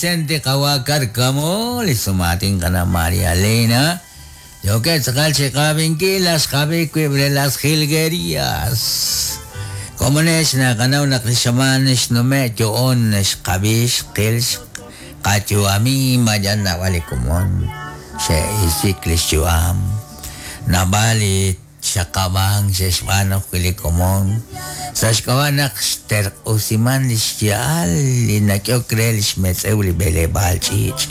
Vicente qawa' Cárcamo, li sumaatin qana' María Elena, yookeb' tz'aqal chi qab'inkil las xqab'i wib' re las jilguerías. Komonex naqanaw naq li xamaan xnume' yo'on xqab'i xqil xqayu'ami ma yal naab'al li komon xe'isik li xyu'am. Naab'al li Xaqab'ank xe'xb'aanu ajwi' li komon sa' xk'ab'a' naq xterq'usiman li xya'al li nak'ehok re li xmetz'ew li b'eleb'aal ch'iich'.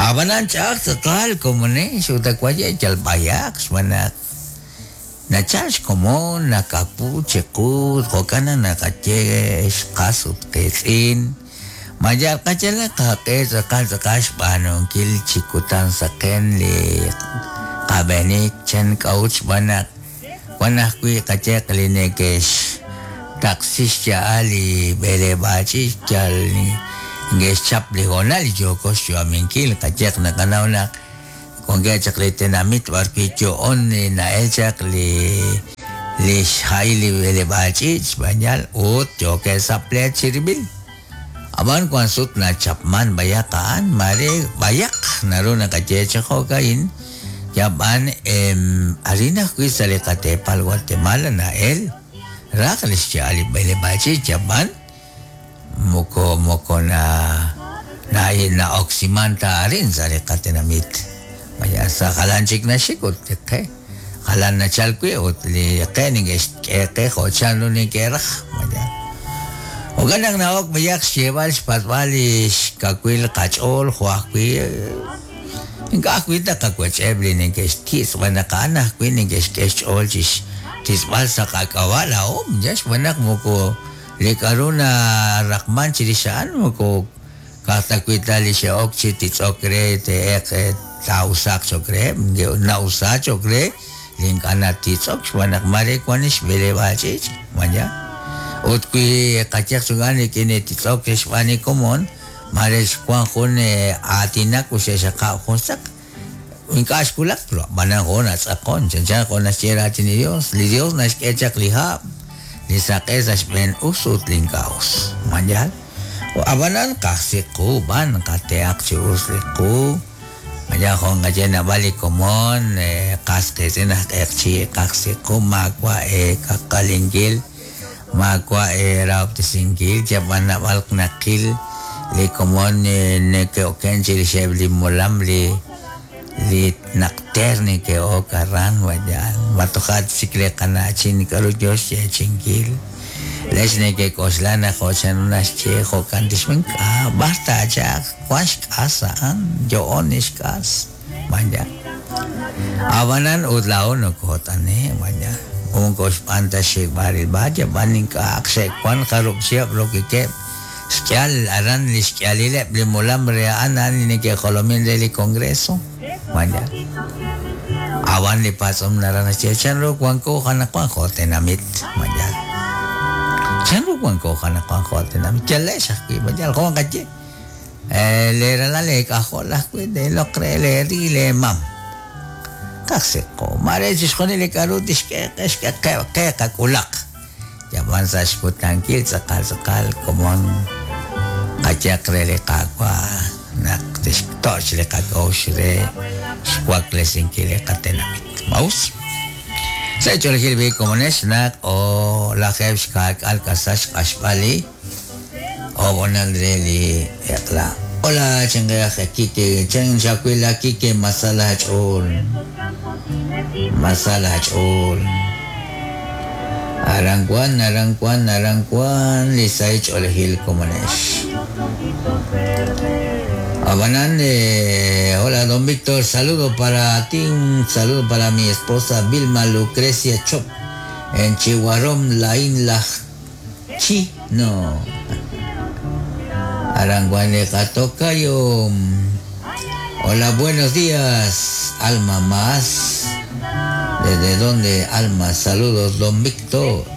Ab'anan ch'a'aj tz'aqal komonex ut awaye' yal b'ayaq xb'aan naq nachal xkomon nakawu chiqu jo'kan naq naqaye xqas ut qiitz'in ma yal qayalaq qaq'e tz'aqal tz'aqal xb'aanunkil chi kutan saqen li qab'eenik chan k'a'ut xb'aan naq wan ajwi' qayeq li neke'xtaqsi xya'al li b'eleb'aal ch'iich' yal neke'xchap li hoonal li yooko xyu'aminkil qayeq naqanaw naq wankeb' chaq li tenamit b'arwi' yo'on li na'el chaq li li xha'il li b'eleb'aal ch'iich' xb'aan yal ut yookeb' sa' pleet chirib'il. Ab'an wank sut nachapmank b'ayaq a'an, maare b'ayaq naru naqaye chi jo'ka'in, yab'an arin ajwi' sa' li qateepal Guatemala na'el raj li xya'al li b'eleb'aal ch'iich' yab'an moko moko na na'oksimank ta arin sa' li qatenamit. Maya sa' jalan chik naxik ut li qe jalan nachalk wi' ut li qe neke'xk'e qe jo' chanru neke'raj. Maya jo'kan naq na'ok b'ayaq xyeeb'al xpatz'b'al li xkawil qach'ool jo' ajwi' ink'a' ajwi' taqawech'eb' li neke'xtitz' xb'aan naq a'an ajwi' neke'xk'e xch'ool chi xtitz'b'al sa' qak'ab'a' laa'o xb'aan naq moko li k'a'ru naraqman chirix a'an moko ka'aj ta wi' ta li xe'ok chi titz'ok re te'eq taa'usaaq cho'q reheb', na'usa cho'q re li ink'a' natitz'ok xb'aan naq maare wan li xb'eleb'aal ch'iich', maya. Ut wi qayehaq chuk'an rik'in li titz'ok xb'aan li komon, maare xwan jun aatinak ut xe'xaqab' jun saq, ink'a' xwulak, ab'anan jo' natz'aqon, chanchan jo' naxye raatin li Dios. Li Dios naxk'e chaq li hab', li saq'e sa' xb'een us ut li ink'a' us. Ma yaal? Ab'anan qajsi qu b'an qatehaq chi us li qu. Maya jo' nqaye naab'al li komon, qas qiitz'in aj q'eqchi' qajsi qu maawa' eekaqalinkil, maawa' eerahob'tesinkil, yab'an naab'al naqil li komon neke'oken chirixeb' li molam li li naq teer neke'ok aran wayal ma toja' chik li qana'chin k'aru yo xyeechi'inkil lex neke'k'oxla naq jo' chanru naxye jo'kan tixb'aan k'a b'ar taachaq wan xk'as a'an yo'on li xk'as vaya ab'anan ut laa'o nokoot'ane' vaya moko xb'aan ta xxik'b'al rilb'al yab'an ink'a'aq xe'wan jarub' chihab' rokikeb' xk'ihal aran li xk'ihalileb' li molam re a'an a'an li neke'jolomin re li Congreso vaya ab'an li patz'om naraj naxye chanru wanko anaqwan jo' tenamit vaya chanru wanko anaqwan jo' tenamit yalex ajwi' vaya jo' nqaye leeralal leek'ajol ajwi' teeloq re leeri leemam qajsiqo maare chixjunil li k'a'ru tixk'e qe xk'e qe qe qak'ulaq yab'an sa' xkutankil tz'aqal tz'aqal komon qayehaq re li Qaawa' naq tixtoch' li qak'a'uxl re xwaklesinkil li qatenamit. Ma us? Sa' ch'oolejil b'i' komonex naq 10.40 k'asal xq'axb'al li ob'onal re li eq'la. Hola chinqe'aj Kike, chan xawil a Kike ma sa laach'ool, ma sa laach'ool. Aran wan, aran wan, aran wan li sahil ch'oolejil komonex. Ab'anan, hola don Víctor, saludo para ti, un saludo para mi esposa Vilma Lucrecia Chop, en Chihuarom, Laín Laj Chino. Aran wan li qatokayo. Hola, buenos días, Alma Más. ¿Desde dónde, Alma? Saludos, don Víctor.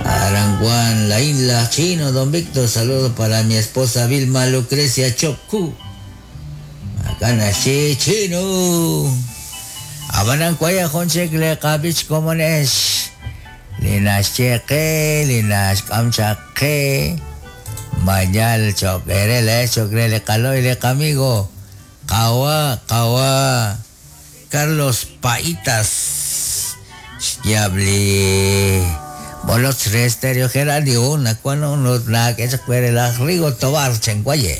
Aran wan, la isla Chino, don Víctor. Saludos para mi esposa Vilma Lucrecia Chopcu. Acá nací Chino. Ab'anan waya jun chik li qab'ich komonex li naxye qe li naxk'am chaq qe. Mañal cho'q eere laa'ex cho'q re li qalo'y li qamigo qawa' qawa' Carlos Paítas xyaab' li b'olotz re Stereo Geranio nawank ut naak'e chaq we re laj Rigo Tobar Chenguaye.